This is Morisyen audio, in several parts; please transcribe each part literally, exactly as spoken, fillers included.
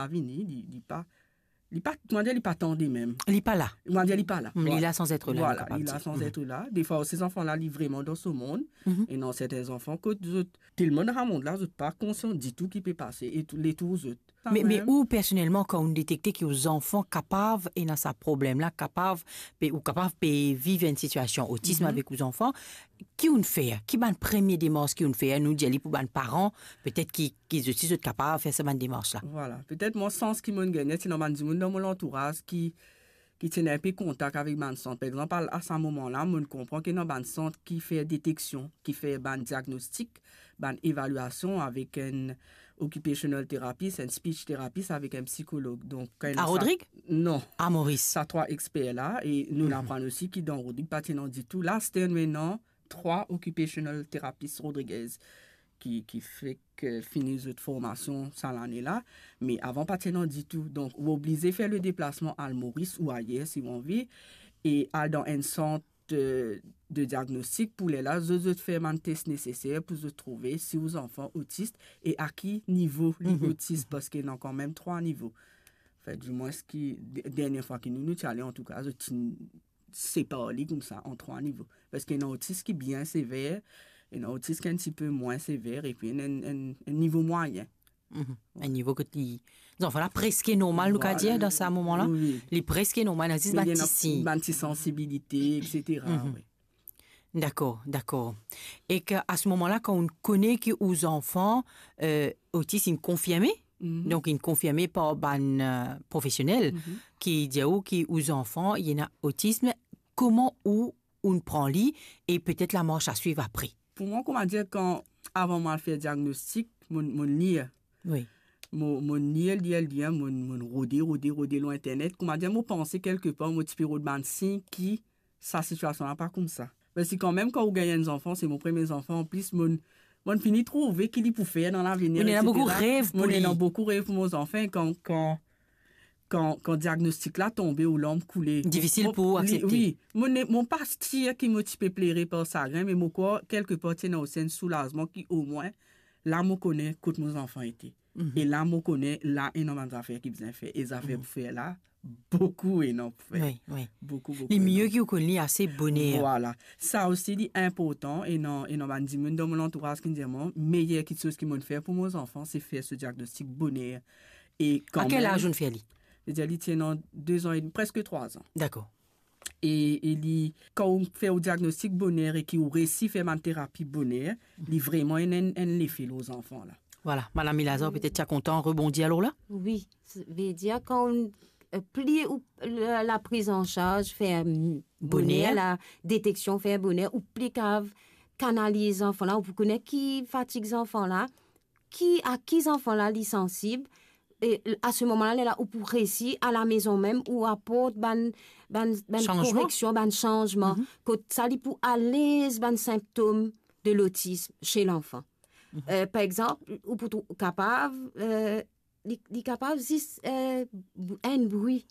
pa vini, li, li pa, li pa, kouma dir, li pa tande mem. Li pa la. Kouma dir, li pa la. Mm, li la san et la, li la san et la. Defwa, se zanfan la, li vreman dan so mond. Mhm. E ena sertin zanfan, kot zot telman dan sa mond la, zot pa konsian ditou ki pe pase e tou, letour zot. Me, me ou personelman, kan ou detekte ki ou zanfan kapav ena sa problem la, kapav, pe, ou kapav pe viv enn sitiasion otism avek ou zanfan, ki ou fer? Ki bann premie demars ki ou fer? Nou dir li pou bann paran, petet ki, ki zot osi zot kapav fer sa bann demars la. Vwala, petet mwa sans ki mo'nn gagne, ti ena bann dimoun dan mo lantouraz ki, ki ti ena inpe kontak avek bann sant. Par exanp, a, a sa moman la, mo'nn konpran ki ena bann sant ki fer deteksion, ki fer bann diagnostik, bann evaliasion avek enn occupational therapist, enn speech therapist, avek enn psikolog. Donk, kan... A Rodrig? Non. A Moris? Sa trwa exper la, e nou aprann osi ki dan Rodrig pa ti ena ditou. La, aster nou ena trwa occupational therapist Rodriguez ki, ki fek, eh, fini zot formasion sa lane la. Me avan pa ti ena ditou. Donk, ou oblize fer le deplasman al Moris ou ayer, si ou anvi, e al dan enn sant, eh, de diagnostik pou lerla zot, zot fer bann tes neseser pou zot trouve si ou zanfan otis e a ki nivo li otis, parski ena kanmem trwa nivo. Anfet, dimwens ki, de-, dernie fwa ki nou, nou ti ale, antouka, zot ti separ li koumsa an trwa nivo. Parski ena otis ki bien sever, ena otis ki enn tipe mwin sever, epi enn, enn, enn, enn nivo mwayin. Mhm. Enn nivo kot li, zanfan la preske normal, nou kapav dir, dan sa moman la. Wi. Li preske normal, ena zis bann ti sign. Me li ena bann ti sansibilite, et cetera, wi. Dakor, dakor. E ke a se moman la, kan ou kone ki ou zanfan, eh, otis inn konfirme, donk inn konfirme par bann, eh, profesionel, ki dir ou ki ou zanfan, li ena otism, kouma ou, ou pran li, e petet lamars a swiv apre? Pou mwa, kouma dir, kan, avan mwa al fer diagnostik, mo, mo lir. Wi. Mo, mo lir, lir, lir, mo, mo rode, rode, rode lor internet. Kouma dir, mo panse kelkepar, mo ti pe rod bann sign ki sa sitiasion la pa koumsa. Me si kanmem, kan ou gagn enn zanfan, se mo premie zanfan, anplis, mo, mo fini trouve ki li pou fer dan lavenir, et cetera. Ou ena boukou rev pou li. Mo ena boukou rev pou mo zanfan, kan, kan, kan, kan diagnostik la tonbe, ou larm koule. Difisil pou ou aksepte. Wi, mo ne, mo pa dir ki mo ti pe plere par sagrin, me mo krwar kelkepar ti ena osi enn soulazman ki omwin la mo kone kot mo zanfan ete. Mhm. E la mo kone, la ena bann zafer ki bizin fer. E zafer pou fer la, boukou ena pou fer. Wi, wi. Boukou, boukou ena. Li mie ki ou konn li ase boner. Vwala. Sa osi li inportan, ena, ena bann dimoun dan mo lantouraz ki dir mwa, meyer kiksoz ki mo'nn fer pou mo zanfan, se fer so diagnostik boner. E kanmem... A kel laz ou'nn fer li? Li dir li ti ena de zan edmi, preske trwa zan. Dakor. E, e li, kan ou fer ou diagnostik boner e ki ou resi fer bann terapi boner, li vreman ena enn, enn lefe lor zanfan la. Vwala, Madam Milazar, petet ti a kontan rebondi alor la? Wi, vedir kan ou, eh, pli ou, la, la priz an sarz fer, mm, boner, boner, la deteksion fer boner, ou pli kapav kanaliz zanfan la, ou pou kone ki fatig zanfan la, ki, a ki zanfan la li sansib, e a se moman la, lerla ou pou resi a lamezon mem, ou aport bann, bann, bann koreksion, bann sanzman, kot sa li pou alez bann sinptom de lotism se lanfan. Mhm. Eh, par exanp, ou pou trou-, kapav, eh, li, li kapav zis, eh, bou-, enn bri.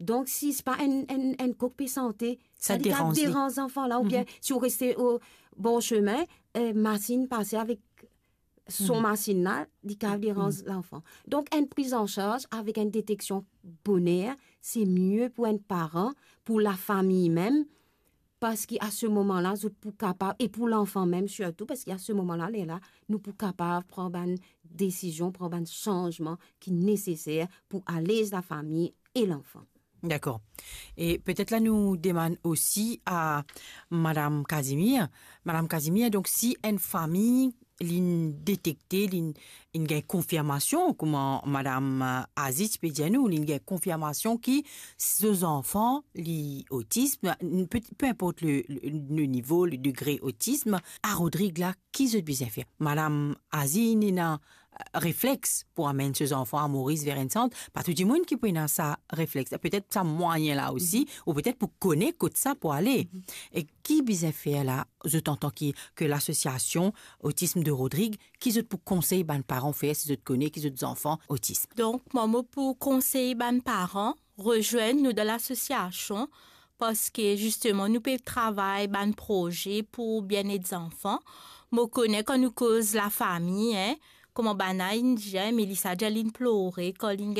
Donk, si se pa enn, enn, enn kok pe sante, sa li kapav deranz li, deranz zanfan la, oubien si ou reste o bor semin, eh, masinn pase avek son masinn la, li kapav deranz lanfan. Donk, enn priz an sarz avek enn deteksion boner, se mie pou enn paran, pou lafami mem, parski a se moman la, zot pou kapav, e pou lanfan mem sirtou, parski a se moman la, lerla, nou pou kapav pran bann desizion, pran bann sanzman ki neseser pou alez lafami e lanfan. Dakor. E petet la nou demann osi a Madam Casimir. Madam Casimir, donk si enn fami li'nn detekte, li'nn, li'nn gagn konfirmasion, kouma Madam, eh, Aziz pe dir nou, li'nn gagn konfirmasion ki so zanfan li otism, pe, pe inport le, le, le nivo, le degre otism, a Rodrig la, ki zot bizin fer? Madam Aziz ena, eh, reflex pou amenn so zanfan a Moris ver enn sant, pa tou dimoun ki pou ena sa reflex. Petet sa mwayin la osi, ou petet pou kone kot sa pou ale. E ki bizin fer la, zot antan ki, ke lasosiasion Otism de Rodrig, ki zot pou konsey bann paran fer si zot kone ki zot zanfan otism? Donk, mwa, mo pou konsey bann paran, rezwenn nou dan lasosiasion, parski zisteman nou pe travay bann proze pou bienet zanfan. Mo kone kan nou koz lafami, en, kouma bann-la inn dir, Melissa dir li'nn plore kan li'nn gagn